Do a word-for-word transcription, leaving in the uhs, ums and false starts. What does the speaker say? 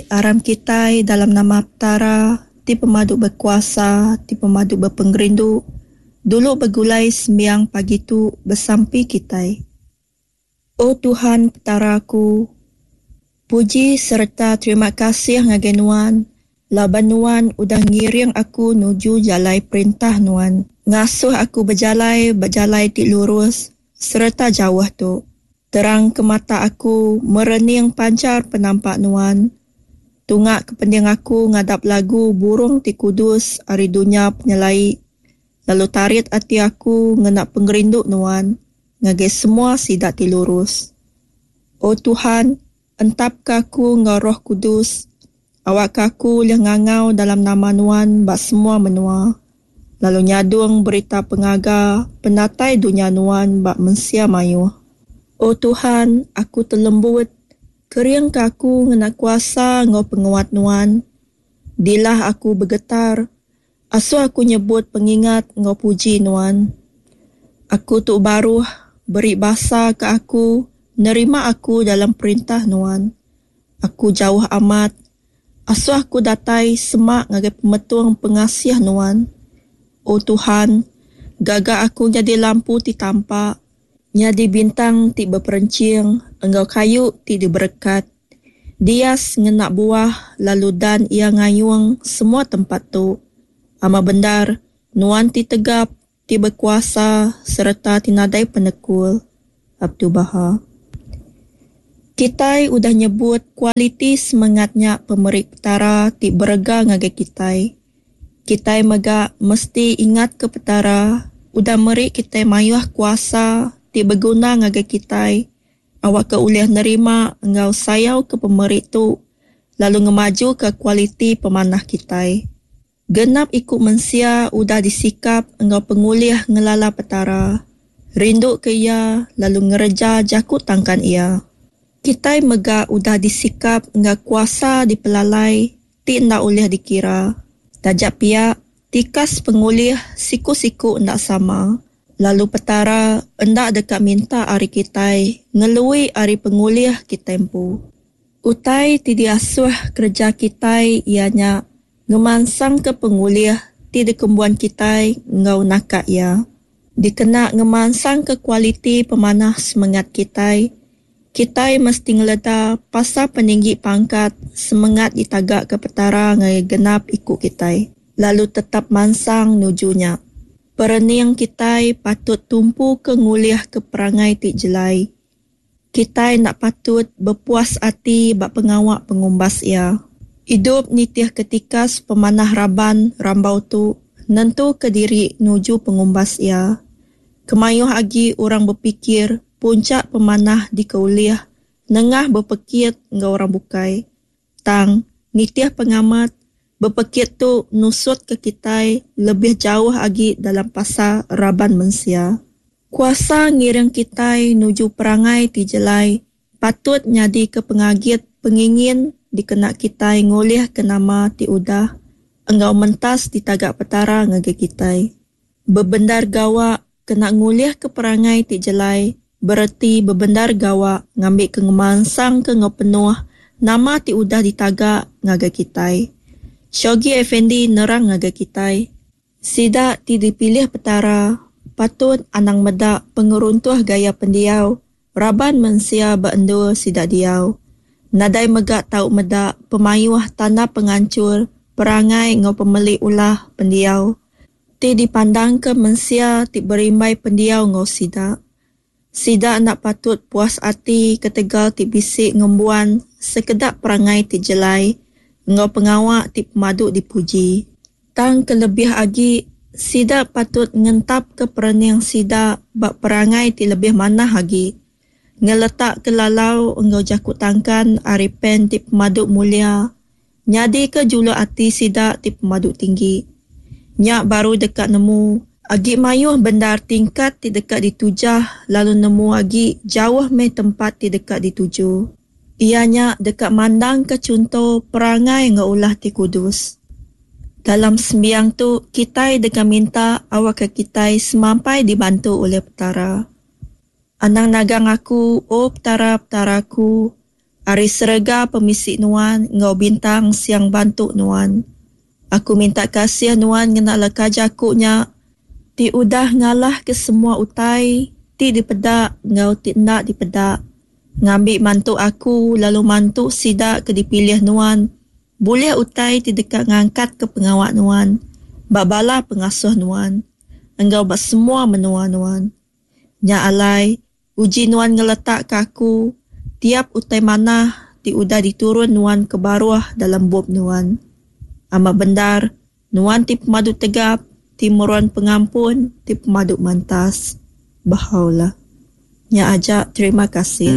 Aram kitai dalam nama Petara ti pemadu bekuasa, ti pemadu bepengerindu, dulu begulai sembiang pagi tu besampi kitai. O Tuhan Petara aku, puji sereta terima kasih ngagai Nuan laban Nuan udah ngiring aku nuju jalai perintah Nuan, ngasuh aku bejalai ba jalai ti lurus sereta jauh tu. Terang ke mata aku merening panchar penampak Nuan. Tunga ke pending aku ngadap lagu burung ti kudus ari dunya penyelai, lalu tarit ati aku ngena pengerindu Nuan ngagai semua sida ti lurus. O Tuhan, entapka aku enggau Roh Kudus, awakka aku ulih ngangau dalam nama Nuan ba semua menua, lalu nyadung berita pengaga penatai dunya Nuan ba mensia mayuh. O Tuhan, aku telembut, keringka aku ngena kuasa enggau penguat Nuan. Dilah aku begetar, asuh aku nyebut pengingat enggau puji Nuan. Aku tu baruh, beri basa ke aku, nerima aku dalam perintah Nuan. Aku jauh amat, asuh aku datai semak ngagai pemetung pengasih Nuan. O Tuhan, gaga aku nyadi lampu ti tampak, nyadi bintang ti beperenching enggau kayu ti diberekat. Dias ngena buah lalu dan iya ngayung semua tempat tu. Amat bendar, Nuan ti tegap, ti bekuasa sereta ti nadai penekul. Abdu'l-Bahá. Kitai udah nyebut kualiti semengat nya pemeri Petara ti berega ngagai kitai. Kitai mega mesti ingatka Petara udah meri kitai mayuh kuasa ti beguna ngagai kitai awakka ulih nerima enggau sayauka pemeri tu lalu ngemajuka kualiti pemanah kitai. Genap iku mensia udah disikap enggau pengulih ngelala Petara, rinduka Iya lalu ngereja jaku tangkan Iya. Kitai mega udah disikap enggau kuasa dipelalai ti enda ulih dikira. Taja pia, tikas pengulih siku-siku enda sama, lalu Petara enda deka minta ari kitai ngelui ari pengulih kitai empu. Utai ti diasuh kereja kitai iya nya ngemansangka pengulih ti dikembuan kitai enggau naka iya. Dikena ngemansangka kualiti pemanah semengat kitai, kitai mesti ngeleda pasal peninggi pangkat semengat ditagaka Petara ngagai genap iku kitai, lalu tetap mansang nuju nya. Perening kitai patut tumpuka ngulihka perangai ti jelai. Kitai enda patut bepuas ati ba pengawa pengumbas iya. Idup nitihka tikas pemanah raban rambau tu nentuka diri nuju pengumbas iya. Kemayuh agi orang bepikir punchak pemanah dikeulih nengah bepekit enggau orang bukai. Tang, nitih pengamat, bepekit tu nusutka kitai lebih jauh agi dalam pasal raban mensia. Kuasa ngiring kitai nuju perangai ti jelai patut nyadika pengagit pengingin dikena kitai ngulihka nama ti udah enggau mentas ditaga Petara ngagai kitai. Bebendar gawa kena ngulihka perangai ti jelai bereti bebendar gawa ngambika ngemansangka enggau penuh nama ti udah ditaga ngagai kitai. Shoghi Effendi nerang ngagai kitai, sida ti dipilih Petara patut anang meda pengeruntuh gaya pendiau raban mensia ba endur sida diau. Nadai mega tau meda pemayuh tanda penganchur perangai enggau pemeli ulah pendiau ti dipandangka mensia ti berimbai pendiau enggau sida. Sida enda patut puas ati ketegal ti bisi ngembuan sekeda perangai ti jelai enggau pengawa ti pemadu dipuji. Tang kelebih agi, sida patut ngentapka perening sida ba perangai ti lebih manah agi, ngeletakka lalau enggau jaku tangkan ari Pen ti Pemadu Mulia nyadika juluk ati sida ti pemadu tinggi. Nya baru deka nemu agi mayuh bendar tingkat ti deka ditujah lalu nemu agi jauh meh tempat ti deka dituju. Iya nya deka mandangka chunto perangai enggau ulah ti kudus. Dalam sembiang tu kitai deka minta awakka kitai semampai dibantu ulih Petara. Anang nagang aku, O Petara, Petara aku, Ari serega pemisi Nuan enggau bintang siang bantu Nuan. Aku minta kasih Nuan ngena leka jaku nya ti udah ngalahka semua utai ti dipeda enggau ti enda dipeda, ngambi mantu aku lalu mantu sida ke dipilih Nuan bulih utai ti deka ngangkatka pengawa Nuan ba bala pengasuh Nuan enggau ba semua menua Nuan. Nya alai, uji Nuan ngeletakka aku tiap utai manah ti udah diturun Nuan ke baruh dalam bup Nuan. Amat bendar, Nuan ti pemadu tegap, ti meruan pengampun, ti pemadu mentas. Bahá'u'lláh. Nya aja, terima kasih.